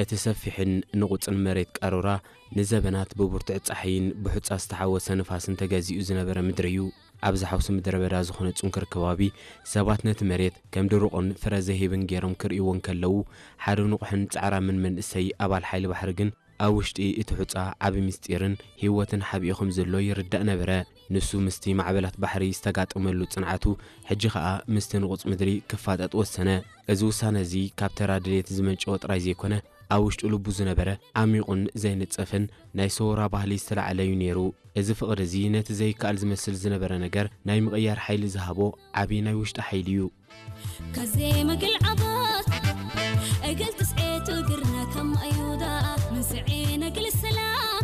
እቲ ሰፊሕን ንቑጽን መሬት ቃሮራ ንዘበናት ብብርቱዕ ጻሕይን ብሑጻ ዝተሓወሰ ንፋስን ተገዚኡ ዝነበረ ምድሪ እዩ። ኣብዚ ሓውሲ ምድረ በዳ ዝኾነ ጽንኩር ከባቢ ሰባት ነቲ መሬት ከም ድሩቕን ፍረ ዘይህብን ገይሮም ክርእይዎ እንከለዉ፣ ሓደ ንቑሕን ጻዕራምን መንእሰይ ኣባል ሓይሊ ባሕሪ ግን ኣብ ውሽጢ እቲ ሑጻ ዓቢ ምስጢርን ህይወትን ሓቢኡ ከም ዘሎ ይርዳእ ነበረ። ንሱ ምስቲ ማዕበላት ባሕሪ ዝተጋጠመሉ ጽንዓቱ፣ ሕጂ ኸኣ ምስቲ ንቑጽ ምድሪ ክፋጠጥ ወሰነ። እዚ ውሳነ እዚ ካብ ተራ ድሌት ዝመንጨወ ጥራይ ዘይኮነ፣ ኣብ ውሽጡ ልቡ ዝነበረ ዓሚቑን ዘይንጸፍን ናይ ሰውራ ባህሊ ዝተላዕለ እዩ ነይሩ። እዚ ፍቕሪ እዚ ነቲ ዘይከኣል ዝመስል ዝነበረ ነገር ናይ ምቕያር ሓይሊ ዝሃቦ ዓቢ ናይ ውሽጢ ሓይሊ እዩ። ከዜ መግል ዓባት እግል ትስዔቱ ግርና ከም ኣዩዳ ምን ስዔ ነግል ሰላም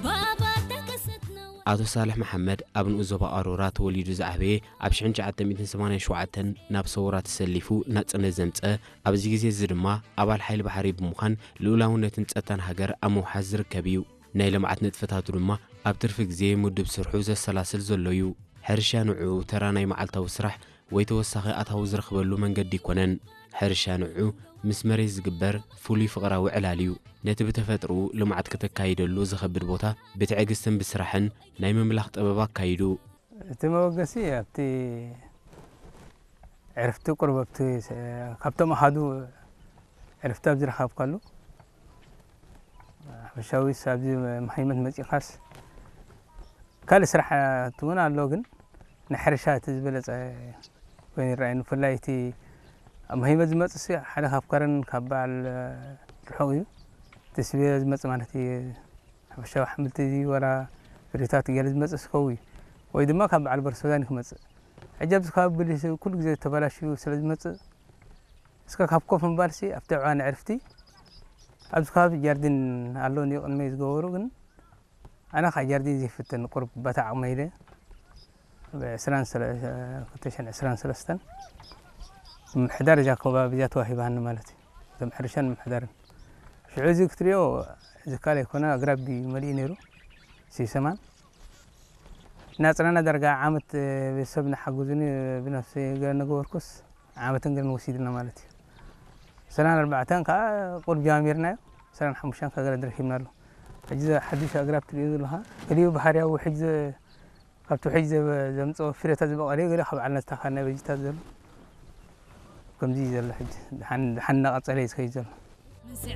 ባባ ተከሰትነው። ኣቶ ሳልሕ መሓመድ ኣብ ንኡስ ዞባ ቃሮራ ተወሊዱ ዝዓበየ፣ ኣብ ሽሕን ትሽዓተ ሚእትን ሰማንያን ሸውዓተን ናብ ሰውራ ተሰሊፉ ናጽነት ዘምጸ፣ ኣብዚ ግዜ እዚ ድማ ኣባል ሓይሊ ባሕሪ ብምዃን ልኡላውነትን ጸጥታን ሃገር ኣብ ምውሓስ ዝርከብ እዩ። ናይ ልምዓት ንጥፈታቱ ድማ ኣብ ትርፊ ግዜ ምዱብ ስርሑ ዘሰላስል ዘሎ እዩ። ሕርሻ ንዑ ተራ ናይ መዓልታዊ ስራሕ ወይ ተወሳኺ ኣታዊ ዝረኽበሉ መንገዲ ኣይኮነን። ሕርሻ ንዑ ምስ መሬት ዝግበር ፍሉይ ፍቕራዊ ዕላል እዩ። ነቲ ብተፈጥሮኡ ልምዓት ከተካይደሉ ዝኸብድ ቦታ ብትዕግስትን ብስራሕን ናይ ምምላኽ ጥበብ ኣካይዱ። እቲ መበገሲ ኣብቲ ዕርፍቲ ቁርብ ኣብቲ ስ-፣ ካብቶም ኣሃዱ ዕርፍቲ ኣብ ዝረኸብካሉ፣ ሓፈሻዊ ኣብዚ መሃይመት መጺኻስ ካልእ ስራሕ እውን ኣሎ፣ ግን ናይ ሕርሻ እቲ ዝበለጸ ኮይኑ ይረኣየኒ። ብፍላይ እቲ ኣብ መሃይመት ዝመጽእ ሲ ሓደ ካብ ከረን ካብ በዓል ርሑቕ እዩ። እቲ ስቤ ዝመጽእ ማለት እዩ። ሓፈሻዊ ኣሕምልቲ እዚ ወላ ፍሪታት ገለ ዝመጽእ ስከዊ ወይ ድማ ካብ በዓል በርሶዛን ክመጽእ። ሕጂ ኣብዚ ከባቢ ብሊስ ኩሉ ግዜ ተበላሽዩ ስለ ዝመጽእ፣ እስከ ካብ ኮፍ ምባልሲ ኣብቲ ዕዋን ዕርፍቲ ኣብዚ ከባቢ ጃርዲን ኣሎ እንድዩ ቅድመይ ዝገበሩ፣ ግን ኣነ ካብ ጃርዲን ዘይፍትን ቁሩብ በታ ዓቕመይ ኢለ ብ ዕስራን ሰለ-፣ ክልተ ሽሕን ዕስራን ሰለስተን ምምሕዳር እዛ ከባቢ እዚኣ ተዋሂባኒ ማለት እዩ። እዞም ሕርሻን ምምሕዳርን። ሽዑ እዚ ክትሪኦ ዝካል ኣይኮነ፣ ኣግራብ እዩ መሊኡ ነይሩ። ሲሰማን ናጽናና ዳርጋ ዓመት ቤተሰብ ንሓግዙኒ ብነፍሲ ገለ ነገበርኩስ ዓመትን ገለን ወሲድና ማለት እዩ። ዕስራን ኣርባዕተን ከዓ ቁሩብ ጀማሚርናዮ፣ ዕስራን ሓሙሽተን ከዓ ገለ ረኪብና ኣሎ። ሕጂ እዚ ሓዱሽ ኣግራብ ትሪኦ ዘለኻ፣ ገሊኡ ባህርያዊ ውሕጅ ዘ-፣ ካብቲ ውሕጅ ዘ-፣ ዘምጽኦ ፍረታት ዝበቐለ፣ ገሊኡ ካብ ዓልና ዝተኻና በጅታት ዘሎ። ከምዚ እዩ ዘሎ ሕጂ። ደሓን፣ ደሓን እናቐጸለ እዩ ዝኸይድ ዘሎ። ምስዒ